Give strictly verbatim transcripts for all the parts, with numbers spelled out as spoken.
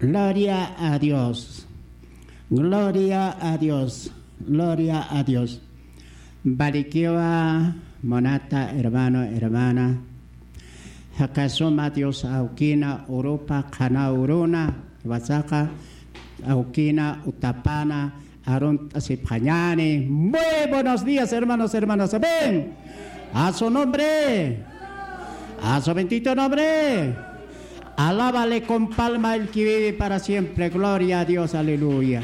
Gloria a Dios. Gloria a Dios. Gloria a Dios. Valikiwa, munata hermano, hermana. Jaka suma Dios awkina, urupa qhana uruna, jiwasaxa awkina, utapana, arunt'asipxañäni. Muy buenos días, hermanos, hermanas. Amén. A su nombre. A su bendito nombre. Alábale con palma el que vive para siempre. Gloria a Dios. Aleluya.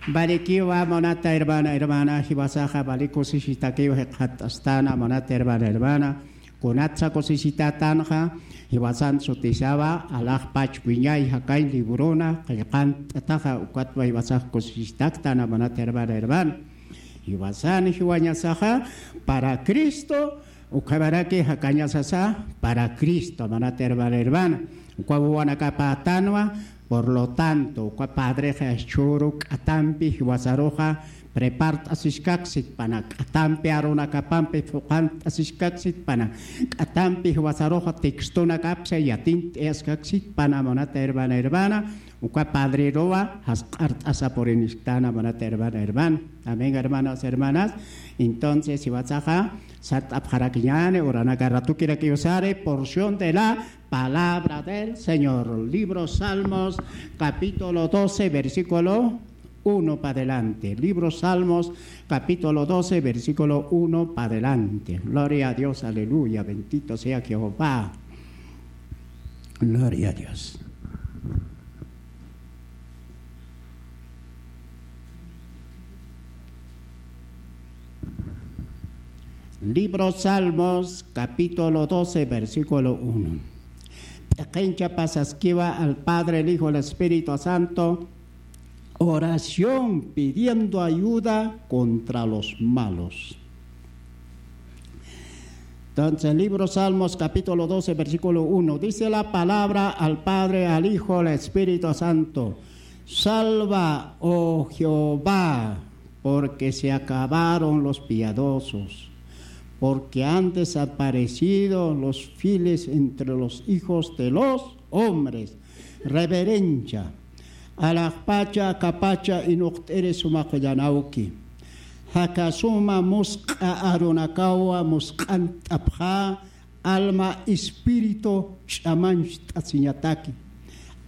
Valikiwa, munata hermana, hermana. Jiwasaxa vali kusisitakiw jikxatastana, munata hermana, hermana. Kunatsa kusisitatanxa, jiwasan sutisawa, alaxpach wiñay jakañ librona qillqant'ataxa, ukatwa jiwasax kusisitaktana, munata hermana, hermana. Jiwasan jiwañasaxa, para Cristo, ukhamaraki jakañasasa, para Cristo, munata hermana, hermana. Ukwa wawanakapatanwa, por lo tanto, ukwa padrexa jichhüru k'atampi jiwasaruxa prepart'asiskaksit pana, k'atampi arunakapampi phuqant'asiskaksit pana, k'atampi jiwasaruxa textonakapsa yatint'ayaskaksit pana, munata hermana, hermana, ukwa padreruwa jasq'art'asa purinisktana, munata hermana, hermana. Amén, hermanos, hermanas. Entonces, jiwasaxa sart'apxarakiñäni, uranaka ratukirakiw sari, porción de la palabra del Señor. Libro Salmos, capítulo doce, versículo uno pa adelante. Libro Salmos, capítulo doce, versículo uno pa adelante. Gloria a Dios, aleluya, bendito sea Jehová. Gloria a Dios. Libro Salmos, capítulo doce, versículo uno. P'iqincha pasaskiwa al Padre, el Hijo, el Espíritu Santo, oración pidiendo ayuda contra los malos. Entonces, libro Salmos, capítulo doce, versículo uno, dice la palabra al Padre, al Hijo, al Espíritu Santo: Salva, oh Jehová, porque se acabaron los piadosos, porque han desaparecido los fieles entre los hijos de los hombres. Reverencia. Alaxpacha, akapacha, inuqt'iri suma qullanawki. Jaka suma musq'a arunakawa musq'ant'apxä, alma, espíritu ch'amancht'asiñataki.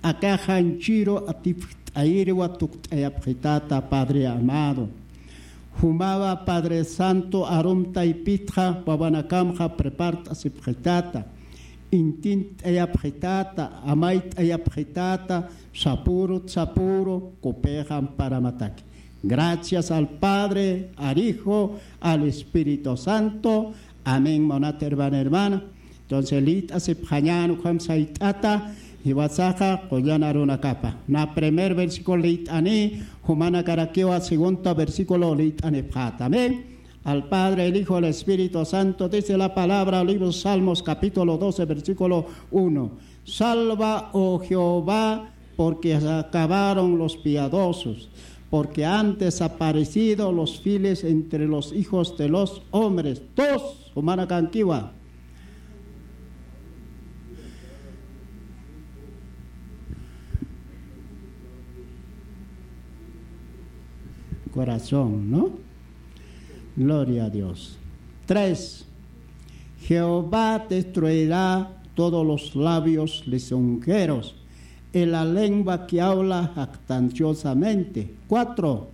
Aka janchiru atipxt'ayiriwa tukt'ayapxitata, Padre amado. Jumawa Padre Santo arum taypitxa wawanakamxa prepart'asipxitata, intint'ayapxitata, amayt'ayapxitata, sapürut sapüru kupix amparamataki. Gracias al Padre, al Hijo, al Espíritu Santo. Amén, munat hermana, hermana. Entonces, liyt'asipxañän ukham sayt'ata, jiwasaxa qullan arunakapa. Na primer versículo liyt'ani, jumanakarakiwa segundo versículo liyt'anipxäta. Amén. Al Padre, al Hijo, al Espíritu Santo, dice la palabra, libro Salmos, capítulo doce, versículo uno. Salva, oh Jehová, porque se acabaron los piadosos, porque han desaparecido los fieles entre los hijos de los hombres. Dos, jumanakankiwa. Corazón, ¿no? Gloria a Dios. Tres, Jehová destruirá todos los labios lisonjeros y la lengua que habla jactanciosamente. Cuatro.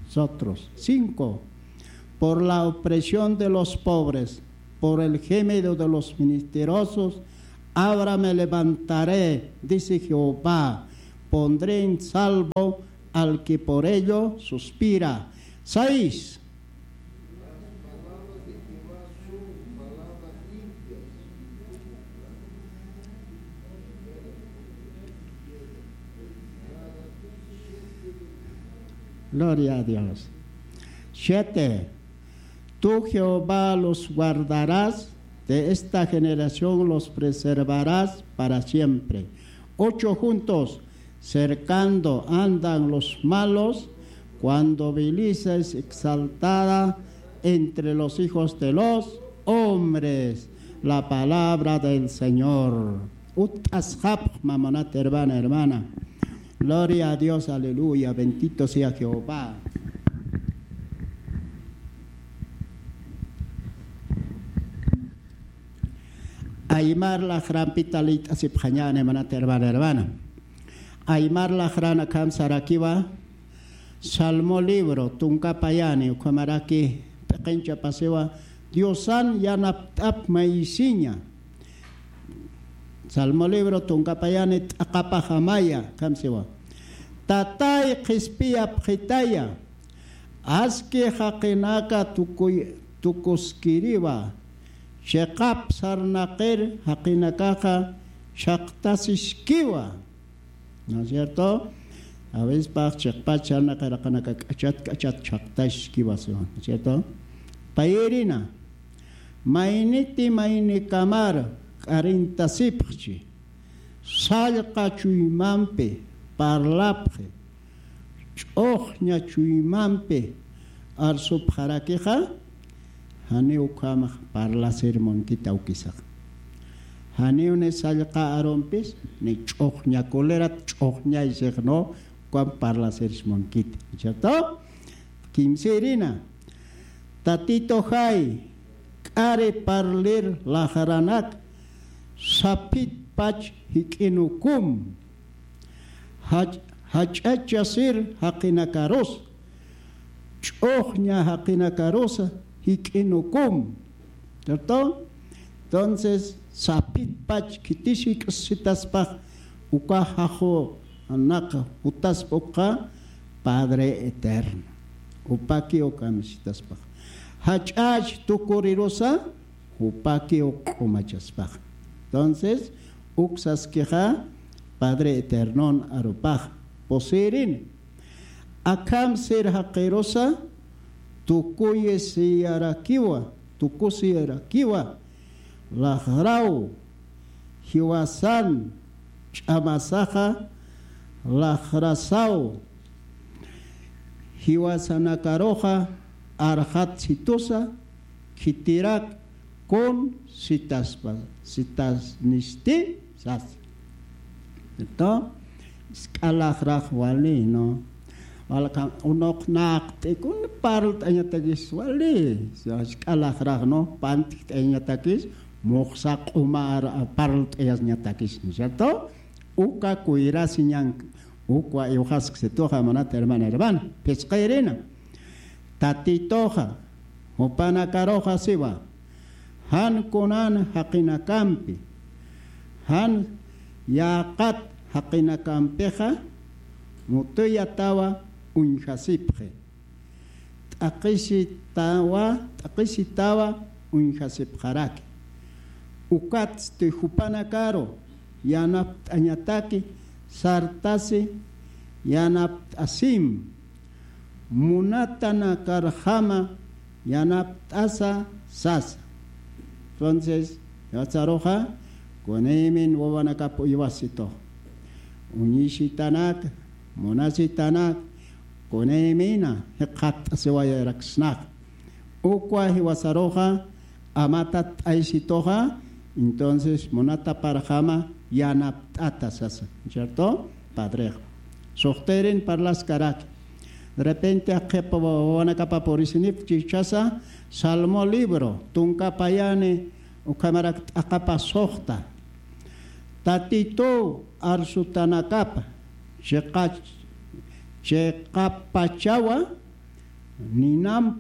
Nosotros. Cinco. Por la opresión de los pobres, por el gemido de los menesterosos, ahora me levantaré, dice Jehová, pondré en salvo al que por ello suspira. Seis. Gloria a Dios. Siete. Tú, Jehová, los guardarás, de esta generación los preservarás para siempre. Ocho juntos. cercando andan los malos, cuando Belisa es exaltada entre los hijos de los hombres. La palabra del Señor. Ut'asxapxma munat hermana, hermana. Gloria a Dios, aleluya, bendito sea Jehová. Aymar laqrampita liyt'asipxañäni munat hermana, hermana. Aymar laqran akham sarakiwa, Salmo libro tunka payani ukhamaraki p'iqinchapasiwa, Diosan yanapt'ap maysiña. Salmo libro tunka payani t'aqapaxamaya, akham siwa. Tatay qhispiyapxitaya, aski jaqinaka tukuy-, tukuskiriwa, chiqap sarnaqir jaqinakaxa chhaqtasiskiwa. ¿No es cierto? A veces pax chiqpach sarnaqir jaqinaka k'achat k'achat chhaqtasiskiwa, ¿no es cierto? Payirina, mayniti maynikamar k'arintasipxchi, sallqa chuymampi parlapxi, ch'uxña chuymampi arsupxarakixa, janiw ukhamax parlasir munkiti awkisaxa. Janiw ni sallqa arumpis, ni ch'uxña kulirat ch'uxñaysix, no, ukham parlasir munkiti, ¿cierto? Kimsirina, Tatitujay, k'ari parlir laqranak, saphit pach jik'inukum, jach-, jach'achasir jaqinakarus, ch'uxña jaqinakarus jik'inukum. ¿Cierto? Entonces, saphit pach khitis jik'sitaspax, uka jajunak jutaspa ukxa Padre Eterno. Jupakiw kamistaspax. Jach'ach tukurirusa, jupakiw q'umachaspax. Entonces, uk saskixa Padre Eternon arupax. Pusirin. Akham sir jaqirusa, tukuyisiyarakiwa, tukusiyarakiwa, laqraw, jiwasan, ch'amasaxa, laqrasaw, jiwasanakaruxa, arxat situsa, khitirak, kun sitaspa, sitasnisti, sas. Esto, sk'alaxrax wali, ¿no? Walka unuq naqt'ikun parlt'añatakis wali, sk'alaxrax, ¿no? Pantkt'añatakis, muxsa q'umar parlt'ayasñatakis, ¿no es cierto? Uka kuyrasiñan, ukwa iwxasksituxa munat hermana, hermana. Phisqayrina. Tatituxa, jupanakaruxa siwa, jan kunan jaqinakampi, jan yäqat jaqinakampixa, mutuyatawa uñjasipxi. T'aqhisitawa, t'aqhisitawa uñjasipxaraki. Ukatsti jupanakaru yanapt'añataki sartasi yanapt'asim. Munatanakarjama yanapt'asa sasa. Entonces, jiwasaruxa, kunaymin wawanakap uywasitux. Uñisitanak, munasitanak, kunaymina jikxatt'asiwayaraksnax. Ukwa jiwasaruxa, amatat t'aysituxa, entonces munataparjama yanapt'ata sasa, ¿cierto? Padrex. Suxtirin parlaskaraki. De repente aqhipa wawanakapa purisinip chichasa, Salmo libro, tunka payani, ukhamarak t'aqapa suxta. Tatitu arsutanakapa, chiqa-, chiqapachawa, ninamp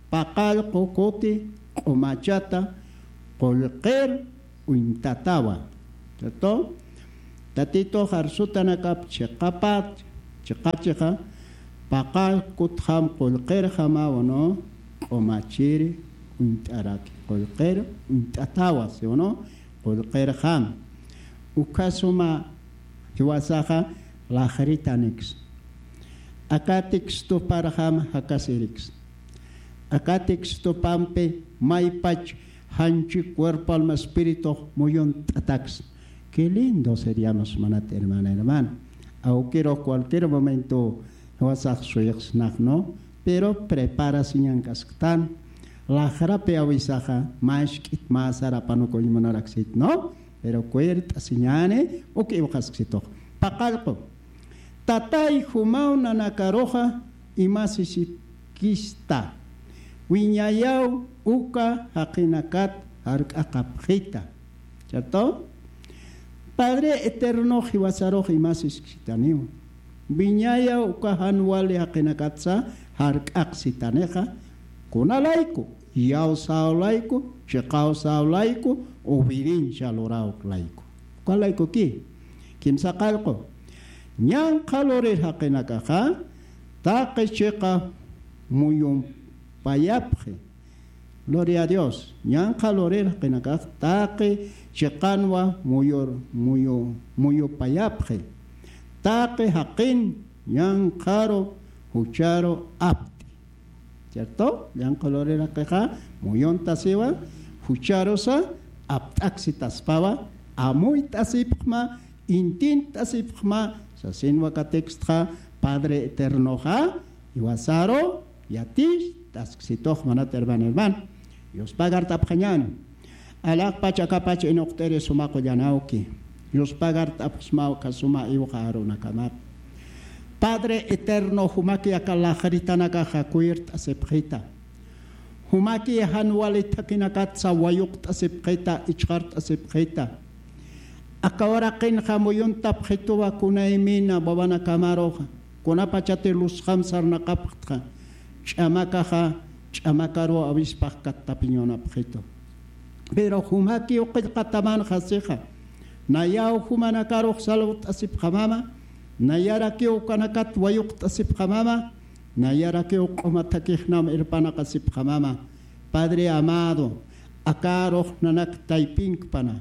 paqallqu kuti q'umachata qullqir uñtatawa. ¿Cierto? Tatitux arsutanakap chiqapat, chiqachixa, paqallqu kutjam qullqirjamawa, ¿no? Q'umachiri uñt'araki, qullqir uñt'atawa, ¿sí o no? Qullqirjam. Ukhasuma jiwasaxa laqritaniks. Aka textoparjam jakasiriks. Aka textopampi maypach janchi cuerpo, alma, espíritu muyunt'ataks. Qué lindo seríamos, munat hermana, hermano. Awkirux cualquier momento jiwasax suyxsnax, ¿no? Pero preparasiñankasktan. Laxrapi awisaxa, mask'it mä sarapanukuñ munaraksït, ¿no? Pero cuert'asiñäni, uk iwxasksitux. Paqallqu. Tatay jumaw nanakaruxa imasisikista. Wiñayaw uka jaqinakat jark'aqapxita. ¿Cierto? Padre eterno jiwasarux imasiskitaniw. Wiñayaw uka jan wali jaqinakatsa jark'aqsitanixa. Kunalayku, iyawsäw layku, chiqawsäw layku, obediencia luräw layku. Uka laykuki, kimsa qallqu. Ñanqha lurir jaqinakaxa, taqi chiqa muyumpayapxi. Gloria a Dios. Ñanqha lurir jaqinakax, taqi chiqanwa muyur-, muyu-, muyupayapxi. Taqi jaqin ñanqharu jucharu apti. ¿Cierto? Ñanqha lurir jaqixa muyuntasiwa, jucharusa apt'aksitaspawa, amuyt'asipxma, intint'asipxma, sasin waka textxa, Padre Eternoxa, jiwasaru yaticht'asksitux munat hermano, hermano. Dios pagart'apxañäni. Alaxpach akapach inuqt'iri suma qullan awki. Dios pagart'apxsmaw uka suma iwxa arunakamat. Padre eterno, jumaki aka laxritanakaxa kuyirt'asipxita. Jumaki jan wali thakinakatsa wayuqt'asipxita, ichqart'asipxita. Aka uraqinxa muyuntapxituwa kunaymina wawanakamaruxa. Kunapachati luzjam sarnaqapxtxa. Ch'amakaxa, ch'amakaru awispax kattapiñunapxitu. Pero jumakiw qillqatamanxa sixa. Nayaw jumanakarux salwt'asipxamama, nayarakiw ukanakat wayuqt'asipxamama, nayarakiw q'uma thakixnam irpanaqasipxamama. Padre amado, akarux nanak taypinkpana.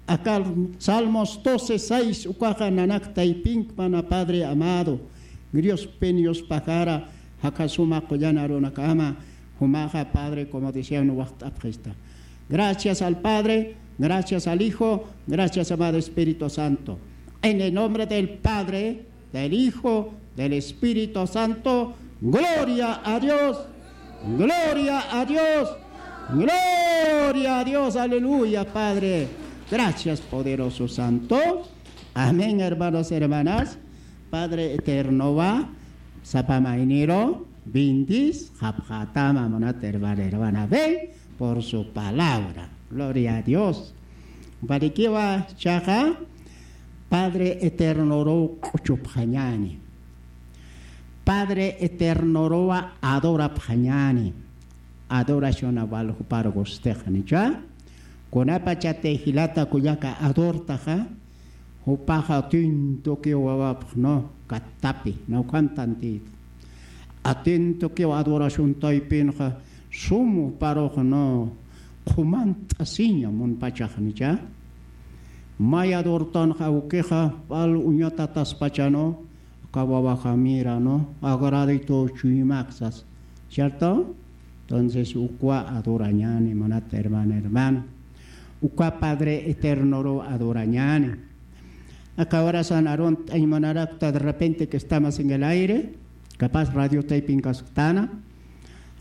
Aka Salmos doce seis ukaxa nanak taypinkpana, Padre amado. Grios penios pajara, jakasuma qullan arunakama, jumaxa Padre, como decían, waxt'apxista. Gracias al Padre, gracias al Hijo, gracias amado Espíritu Santo. En el nombre del Padre, del Hijo, del Espíritu Santo. Gloria a Dios, gloria a Dios, gloria a Dios, aleluya, Padre. Gracias, poderoso Santo. Amén, hermanos, hermanas. Padre eterno va, sapa mayniro, bendis, japjatama, munat hermana, hermana, ven por su palabra. Gloria a Dios. Parikiwa chaqa, Padre eternoruw q'uchupxañäni. Padre eternoruwa adorapxañäni. Adoración awal jupar gustixanicha. Kunapachati jilata kullaka adortaxa, jupaxa atintokiw wawapxno kattapi, nawkhantantit. Atintokiw adoración taypinxa, sum juparuxno qhumant'asiña munpachaxnicha. May adortanxa awkixa, pal uñatataspachano, aka wawaxa mira, ¿no? Agradito chuymaksas, ¿cierto? Entonces, ukwa adorañäni, munat hermana, hermano. Ukwa Padre eternoruw adorañäni. Aka horasan arunt'añ munarakta, de repente que estamos en el aire, capaz radio taypin kasktana,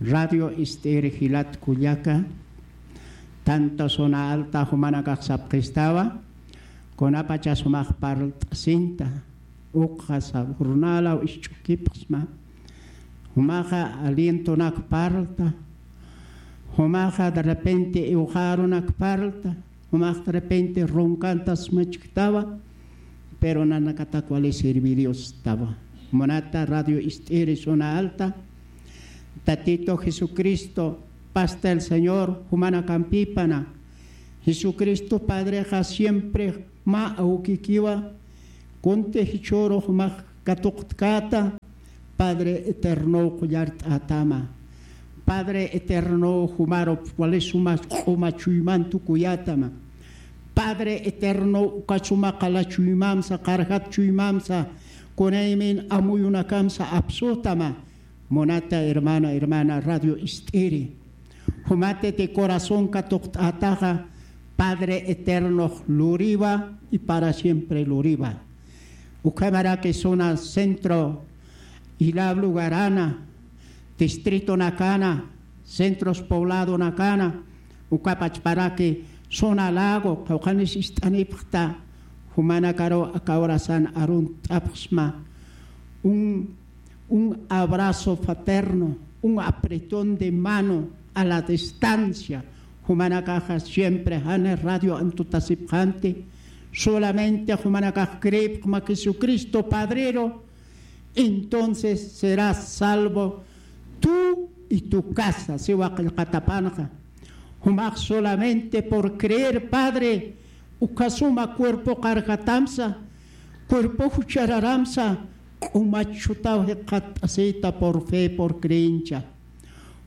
radio Ist'iri jilat kullaka, tanto zona alta jumanakax sapxistawa, kunapacha sumax parlt'asinta, ukxa sa jornalaw isch'ukipxsma, jumaxa alientonak parlta, jumaxa de repente iwxarunak parlta, jumax de repente runkantas machktawa, pero nanakatak wali servir Diostawa. Munata radio Ist'iri zona alta, Tatito Jesucristo, pasta el Señor, jumanakampipana, Jesucristo Padrexa siempre mä awkikiwa, kunti jichhüru jumax katuqtkäta, Padre eternow qullart'ätama. Padre eternow jumarup wali suma q'uma chuyman tukuyätama. Padre eternow uka suma qala chuymamsa, qarjat chuymamsa, kunaymin amuyunakamsa apsütama. Munata hermana, hermana Radio Ist'iri. Jumatiti corazón katuqt'ätaxa, Padre eternox luriwa y para siempre luriwa. ukhamaraki zona centro, Ilab lugarana, distritonakana, centros pobladonakana, uka pachparaki zona lago, qawqhanis ist'anipxta, jumanakaru aka horasan arunt'apxsma, un, un abrazo fraterno, un apretón de mano a la distancia, jumanakaxa siempre jani radio antutasipxanti, solamente jumanakax creepxma Jesucristo Padrero, entonces serás salvo tú y tu casa, siwa qillqatapanxa. Jumax solamente por creer, Padre, uka suma cuerpo qarjatamsa, cuerpo juchararamsa, q'umach chutaw jikxatt'asita por fe, por creencia.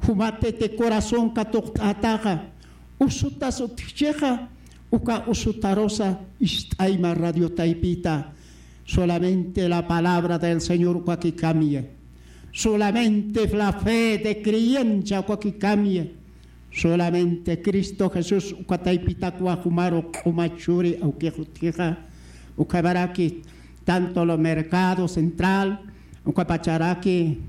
Jumatiti corazón katuqt'ataxa, usutas utjchixa, uka usutarusa ist'ayma radio taypita. Solamente la palabra del Señor ukaki cambia. Solamente la fe de creencia ukaki cambia. Solamente Cristo Jesús uka taypitakwa jumaru q'umach churi awkix utjixa. Ukhamaraki tanto lo mercado central, ukapacharaki,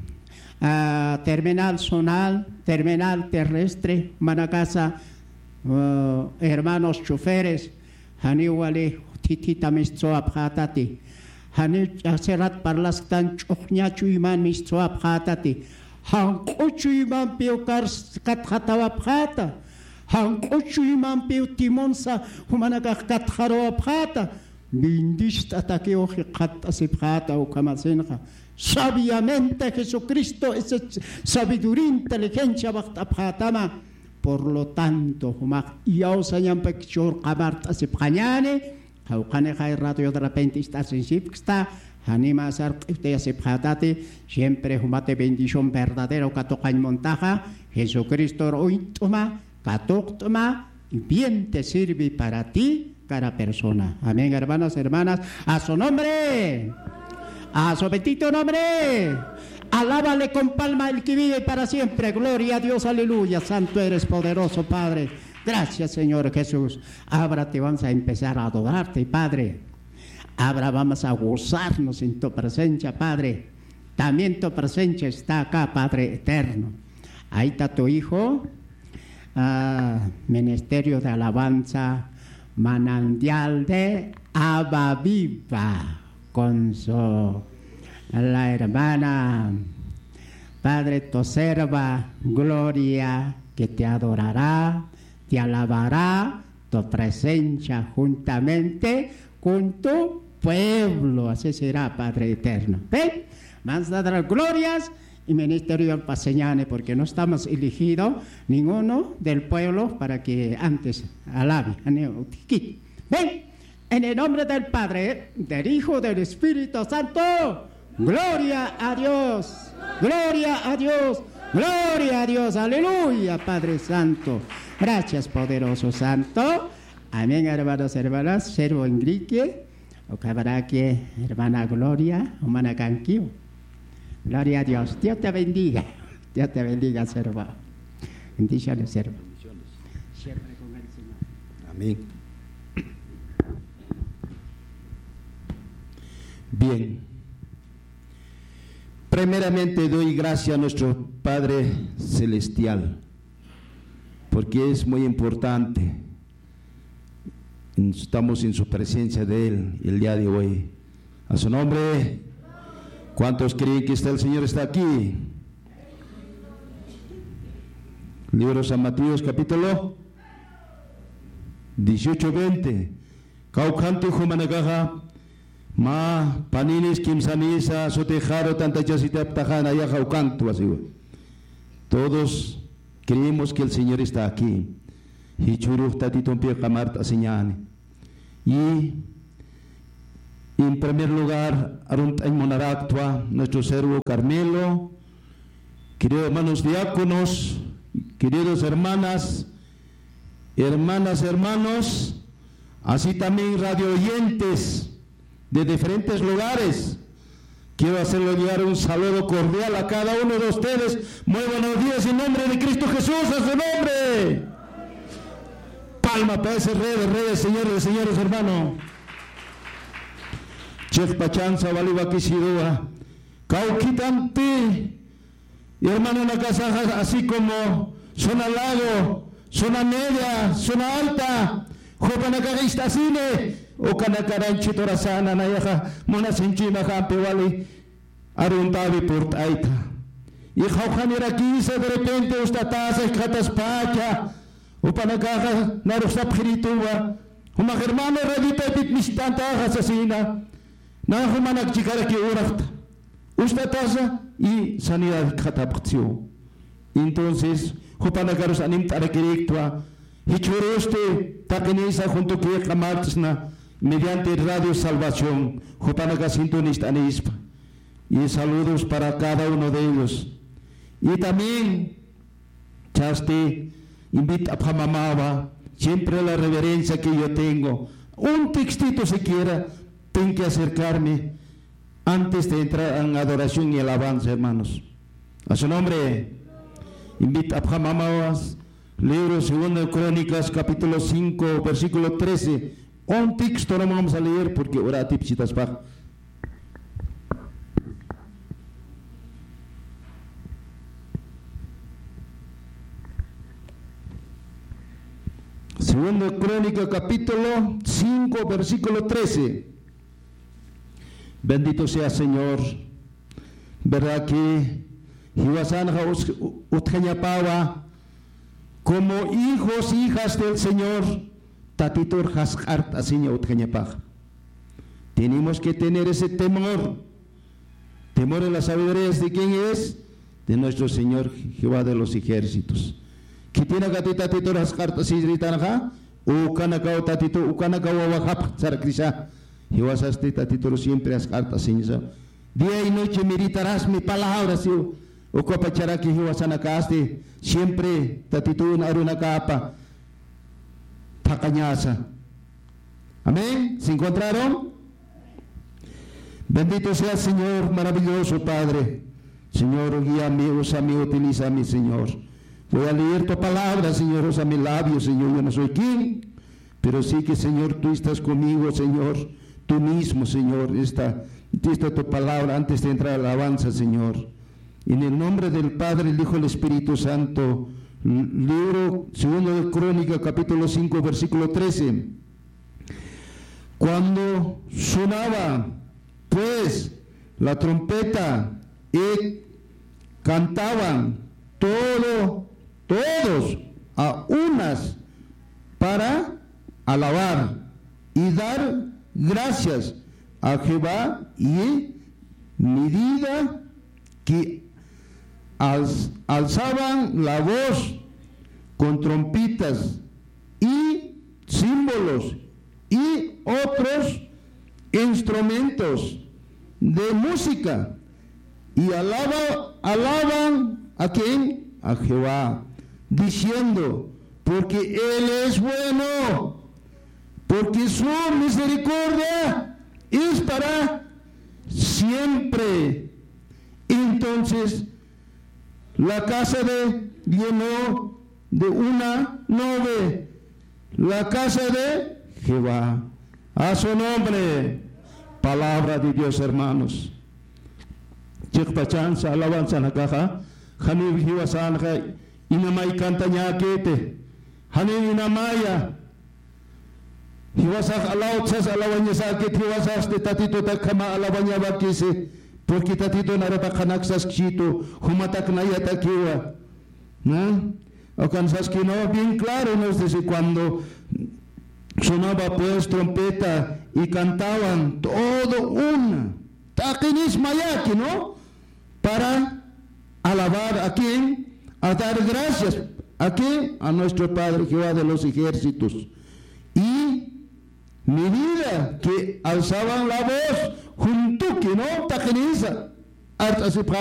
ah, terminal zonal, terminal terrestre, jumanakasa, ah, hermanos choferes, janiw wali thithita mistsuwapxätati. Janiw ch'axsirat parlasktan ch'uxña chuyman mistsuwapxätati. Janq'u chuymampiw kars-, katxatawapxäta. Janq'u chuymampiw timonsa jumanakax katxaruwapxäta. Bendist'atakiw jikxatt'asipxäta ukhamasinxa. Sabiamente Jesucristo, esa sabiduría, inteligencia waxt'apxätama. Por lo tanto, jumax iyawsañampi churqamart'asipxañäni, qawqhanixay radio de repente ist'asinsipksta, janima sarq'iwtayasipxätati, siempre jumati bendición verdadero katuqañ muntaxa, Jesucristor uñt'uma, katuqt'uma, y bien te sirve para ti cada persona. Amén, hermanos, hermanas. A su nombre. A su bendito nombre. Alábale con palma el que vive para siempre. Gloria a Dios, aleluya. Santo eres, poderoso Padre. Gracias, Señor Jesús. Ahora te vamos a empezar a adorarte, Padre. Ahora vamos a gozarnos en tu presencia, Padre. También tu presencia está acá, Padre eterno. Ahí está tu Hijo, ah, Ministerio de Alabanza, Manantial de Agua Viva, con su, la hermana, Padre, tu serva, Gloria, que te adorará, te alabará, tu presencia juntamente con tu pueblo. Así será, Padre eterno. ¿Ven? Vamos a dar glorias y ministerio al Paseñane, porque no estamos elegido ninguno del pueblo para que antes alabe. ¿Ven? En el nombre del Padre, del Hijo, del Espíritu Santo. Gloria a Dios. Gloria a Dios. Gloria a Dios. Aleluya, Padre Santo. Gracias, poderoso Santo. Amén, hermanos, hermanas. Servo Enrique. Ukamaraki, hermana Gloria, humanakankiw. Gloria a Dios. Dios te bendiga. Dios te bendiga, servo. Bendiciones, servo. Siempre con el Señor. Amén. Bien. Primeramente doy gracias a nuestro Padre Celestial, porque es muy importante. Estamos en su presencia de Él el día de hoy. A su nombre. ¿Cuántos creen que está el Señor está aquí? Libro San Mateo, capítulo dieciocho, veinte. Kawkhanti jumanakaxa, mä paninis kimsanisa sutixaru tantachasitaptaxa nayaxa ukantu asiwa. Todos creemos que el Señor está aquí. Jichhürux Tatitumpi qamart'asiñäni. Y en primer lugar, arunt'añ munaraktwa nuestro servo Carmelo, queridos hermanos diáconos, queridos hermanas, hermanas, hermanos, así también radio oyentes de diferentes lugares. Quiero hacerle llegar un saludo cordial a cada uno de ustedes. Muy buenos días en nombre de Cristo Jesús, a su nombre. Palma para ese Rey de Reyes, Señor de Señores, hermano. Chiqpachansa wali wakisiruwa. Kawkhitanti, hermanonakasaxa, así como zona lago, zona media, zona alta, jupanakax ist'asini, ukanakaranchi turasana, nayaxa munasinchima jampi wali aruntawi purt'ayta. Y jawjanirakisa de repente ustatasa jikxataspacha, jupanakaxa narux sapxirituwa, jumax hermano raditaypit mist'antaxa sasina, na jumanak chikaraki uraqta. Ustatasa y sanidad jikxatapxtsiw. Entonces, jupanakarus animt'arakiriktwa, jichhürusti taqinisa juntukixa martsna mediante Radio Salvación, jupanakas sintonist'anispa. Y saludos para cada uno de ellos. Y también, chasti, invit'apxamawa, siempre la reverencia que yo tengo, un textito siquiera, tengo que acercarme antes de entrar en adoración y alabanza, hermanos. A su nombre, invit'apxamawa, libro Segunda de Crónicas, capítulo cinco, versículo trece. Un texto no vamos a leer porque ora atipchitaspa. Segunda de Crónica, capítulo cinco, versículo trece. Bendito sea Señor. ¿Verdad que jiwasanxa us-, u-, utjañapawa como hijos, hijas del Señor, Tatitur jasq'art'asiña utjañapaxa? Tenemos que tener ese temor. Temor en las sabidurías, ¿de quién es? De nuestro Señor Jehová de los ejércitos. Khitinakati Tatitur jasq'art'asiritanxa, ukanakaw Tatitu, ukanakaw wawajapxta sarakisa. Jiwasasti Tatitur siempre jasq'art'asiñasa. Día y noche meditarás mi palabra, siw. Ukapacharaki jiwasanakasti siempre Tatitun arunakapa thaqañasa. Amén. ¿Se encontraron? Bendito sea Señor, maravilloso Padre. Señor, guíame, úsame, utilízame, Señor. Voy a leer tu palabra, Señor, usa mi labio, Señor. Yo no soy quien, pero sí que, Señor, tú estás conmigo, Señor. Tú mismo, Señor, está, está tu palabra antes de entrar a la alabanza, Señor. En el nombre del Padre, el Hijo y el Espíritu Santo. L-, libro segundo de Crónica, capítulo cinco, versículo trece. Cuando sonaba, pues, la trompeta y cantaban todo, todos a unas para alabar y dar gracias a Jehová, y medida que alz-, alzaban la voz con trompetas y címbalos y otros instrumentos de música, y alaba-, alaban ¿a quién? A Jehová, diciendo: "Porque Él es bueno, porque su misericordia es para siempre". Entonces, la casa de, llenó de una nube, la casa de Jehová. A su nombre. Palabra de Dios, hermanos. Chiqpachansa alabanzanakaxa, janiw jiwasanxa inamay cantañäkiti, janiw inamaya. Jiwasax alawtsas alawañasäkit, jiwasasti Tatituta akhama alawañawakisi, porque Tatitun arapaqanak saskchitu, jumatak nayatakiwa. ¿No? Ukan saski, ¿no? Bien claro nos dice, cuando sonaba pues trompeta y cantaban todo una, taqinis mayaki, ¿no? Para alabar ¿a quién? A dar gracias ¿a quién? A nuestro Padre Jehová de los ejércitos. Y medida que alzaban la voz, juntuki, ¿no? Taqinisa art'asipxä